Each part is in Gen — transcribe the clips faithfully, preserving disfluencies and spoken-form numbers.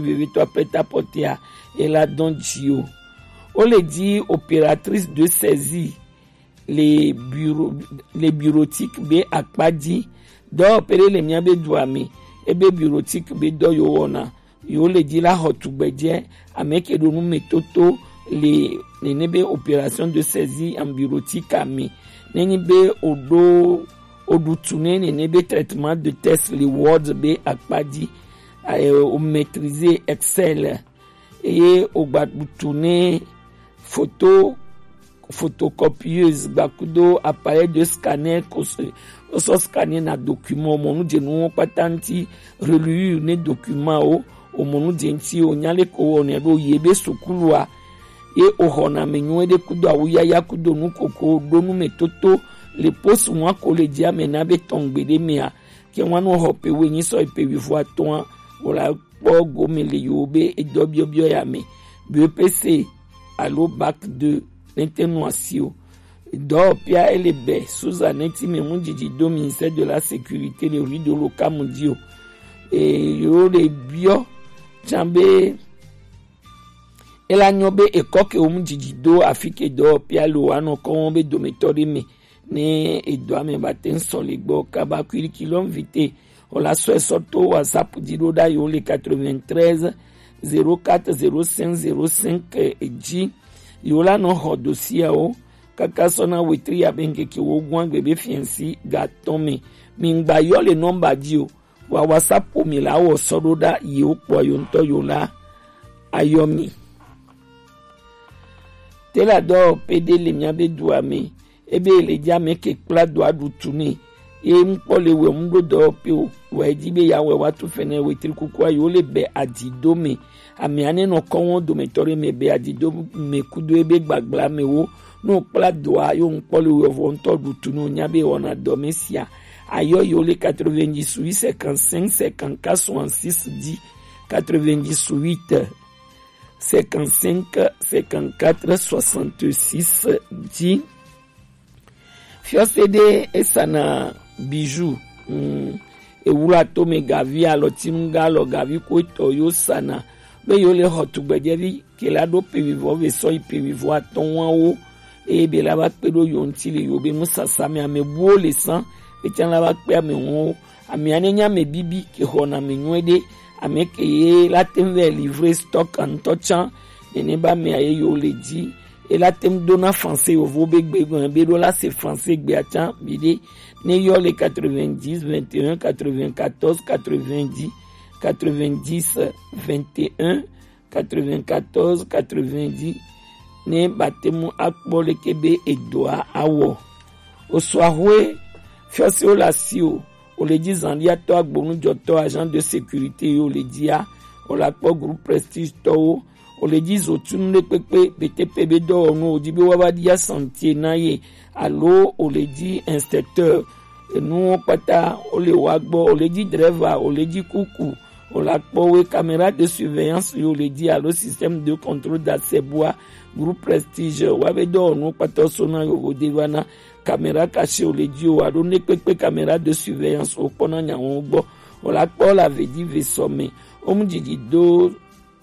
vevitɔ prêt-à-porter a, e la dɔn ji o. O le di opératrice de saisie le bureau, le bureautique be akpa ji. Dɔ pele le mia be du ame, ebe bureautique be dɔ yo wɔna. Yo le di la xɔ tugbɛjɛ, ame ke ɖo nu me toto le nene be opération de saisie en bureautique ame. Nenyi be o ɖo, o ɖu tu ne nene be traitement de test le ward be akpa ji, eh, o maîtriser Excel, eye o gba ɖu tu ne photo, photocopieuse gba kudo appareil de scanner ko se, o sɔ scanner na document, o mɔ nu je nu wo kpata ŋuti, reliure ne document o, o mɔ nu je ŋuti, o nya le ko wɔ ne ɖo ye be sukulu a, ye o xɔ na me nyuie ɖe kudo awu yaya kudo nu koko ɖo nu me toto le poste wa ko le ji ame na be tɔn gbe ɖe mea, ke wa nu xɔ pe we nyi sɔ yi pe wi vo atɔn a, o la kpɔ gome le yewo be edɔ biɔbiɔ ya me. B E P C alo bac deux ne te nu asi o. Dɔwɔƒea ele be Susan ne ti me mu dzidzi do ministère de la sécurité le rue de l'Oka mu di o. E yewo le biɔ tsan be ela nyɔ be ekɔ ke wo mu dzidzi do afi ke dɔwɔƒea le o anɔ kɔ wɔn be dometɔ ɖe me. Ne edɔa me ba te ŋ sɔ le gbɔ kaba kulikilɔ vite, o la sɔ esɔ to WhatsApp di ɖo ɖa yo le quatre-vingt-treize zéro quatre zéro cinq zéro cinq ji. Yo la nɔ xɔ dosiawo kaka sɔ na wetri abe ŋkeke wo gún agbe be fiɛnsi ga tɔn me. Mi ŋgba yɔ le nɔmba di o. Wa WhatsApp mi la wɔ sɔ ɖo ɖa yi wo kpɔ yo ŋutɔ yo la ayɔ mi. Te la dɔ pe ɖe le mia be dua me, ebe le dza me ke kpla dua ɖu tu ne. Ye ŋkpɔ le wɛ ŋu ɖo dɔ pe o, wɛ dzi be ya wɛ wa tu fɛnɛ wetri kukua yo le bɛ adi do me. Ame ane nɔ kɔn wo dometɔ ɖe me bɛ adi do me kudo ebe gbagbla me wo. No kpla dua yo ŋkpɔ le wɛ vɔ ŋutɔ ɖu tu no nya be wɔna dɔ me sia. Ayɔ yo le quatre-vingt-dix-huit cinquante-cinq cinquante-quatre soixante-six dix, quatre-vingt-dix-huit cinquante-cinq cinquante-quatre soixante-six dix. Fiɔse ɖe esana bijou, mm, ewula to me gavi alɔtinu ga alɔ gavi ko etɔ yo sana be yo le xɔ tugbɛjɛvi ke la ɖo pe wivɔ ve sɔ yi pe wivɔ atɔ̃ wa wo. Eye be la va kpe ɖo yo ŋuti le yo be nusasa me ame buwo le san. Etsã la va kpe ame wɔwo. Amea ne nye ame bibi ke xɔna ame nyuie ɖe, ame ke ye la te ŋu vɛ livre stock ŋutɔ tsã. Nene be amea ye yo le dzi. E la te ŋu dona français yovo be gbe gɔ̃ be ɖo la se français gbea tsã viɖe. Ne yɔ le quatre-vingt-dix vingt et un quatre-vingt-quatorze quatre-vingt-dix quatre-vingt-dix vingt et un quatre-vingt-quatorze quatre-vingt-dix ne ba te ŋu akpɔ leke be edɔa awɔ. Osua hoe fiɔsiwo le asi o, o le dzi zanɖiatɔ agbonujɔtɔ agent de sécurité yi o le dzia, o la kpɔ groupe Prestige tɔwo, o le dzi zotunu ɖe kpekpe betepe be dɔwɔnu o dzi be wa va ɖia chantier na ye alo o le dzi inspecteur, enuwo kpata o le wa gbɔ, o le dzi driver, o le dzi kuku, o la kpɔ we caméra de surveillance yo le dzi alo système de contrôle d'accès bua groupe Prestige wa be dɔwɔnu kpata so na yo wo de va na caméra cachée o le dzi o alo ne kpekpe caméra de surveillance o kpɔ na nyawo gbɔ. O la kpɔ la ve dzi ve sɔ me. O mu dzidzi do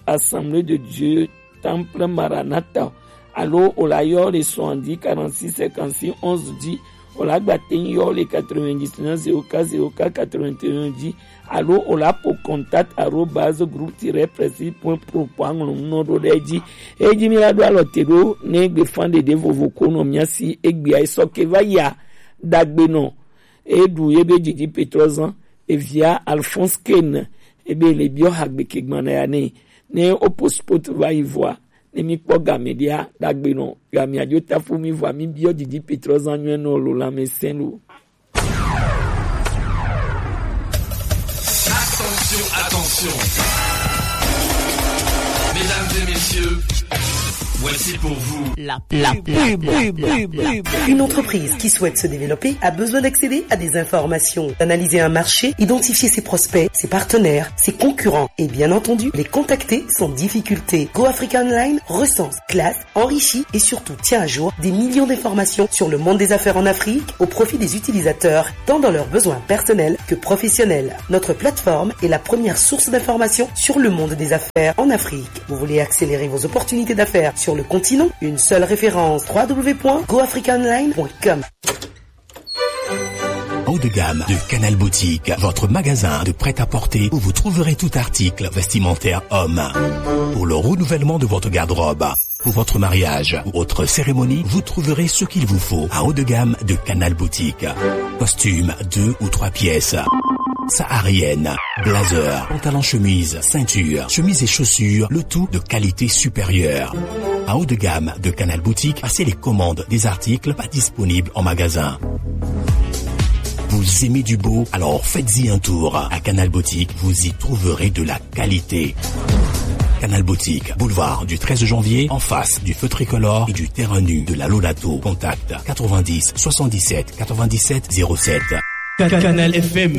Assemblée de Dieu Temple Maranatha alo o la yɔ le soixante-dix quarante-six cinquante-six onze dzi. O la gba te ŋu yɔ le quatre-vingt-dix-neuf zéro quatre zéro quatre quatre-vingt-un dzi alo o la po contact arobase groupe tiret prestige point pro point aŋlɔ nu nɔ ɖo ɖe edzi. Edzi mi la ɖo alɔ te ɖo ne egbe fan ɖeɖe vovo ko nɔ mia si egbea esɔ ke va yia dagbe nɔ. Eɖu ye be dzidzi Petrɔ zan evia Alphonse Ken ebe le biɔ hagbe ke gbana ya ne ne o postpot va yi vɔa ne mi kpɔ game ɖia dagbe nɔ ya mi adzo tafu mi vɔa mi biɔ dzidzi Petrɔ zan nyuie nɔ lo lãmesẽ lo. Attention, attention. Mesdames et messieurs, Voici pour vous la, la pub. Une entreprise qui souhaite se développer a besoin d'accéder à des informations, d'analyser un marché, identifier ses prospects, ses partenaires, ses concurrents et bien entendu les contacter sans difficulté. Go Africa Online recense, classe, enrichit et surtout tient à jour des millions d'informations sur le monde des affaires en Afrique au profit des utilisateurs, tant dans leurs besoins personnels que professionnels. Notre plateforme est la première source d'information sur le monde des affaires en Afrique. Vous voulez accélérer vos opportunités d'affaires sur le continent ? Une seule référence, trois w point go africa online point com. Haut de gamme de Canal Boutique, votre magasin de prêt-à-porter où vous trouverez tout article vestimentaire homme. Pour le renouvellement de votre garde-robe, pour votre mariage ou autre cérémonie, vous trouverez ce qu'il vous faut à Haut de gamme de Canal Boutique. Costume deux ou trois pièces, saharienne, blazer, pantalon chemise, ceinture, chemise et chaussures, le tout de qualité supérieure. À Haut de gamme de Canal Boutique, passez les commandes des articles pas disponibles en magasin. Vous aimez du beau ? Alors faites-y un tour. À Canal Boutique, vous y trouverez de la qualité. Canal Boutique, boulevard du treize janvier, en face du feu tricolore et du terrain nu de la Lolato. Contact quatre-vingt-dix soixante-dix-sept quatre-vingt-dix-sept zéro sept. Canal F M.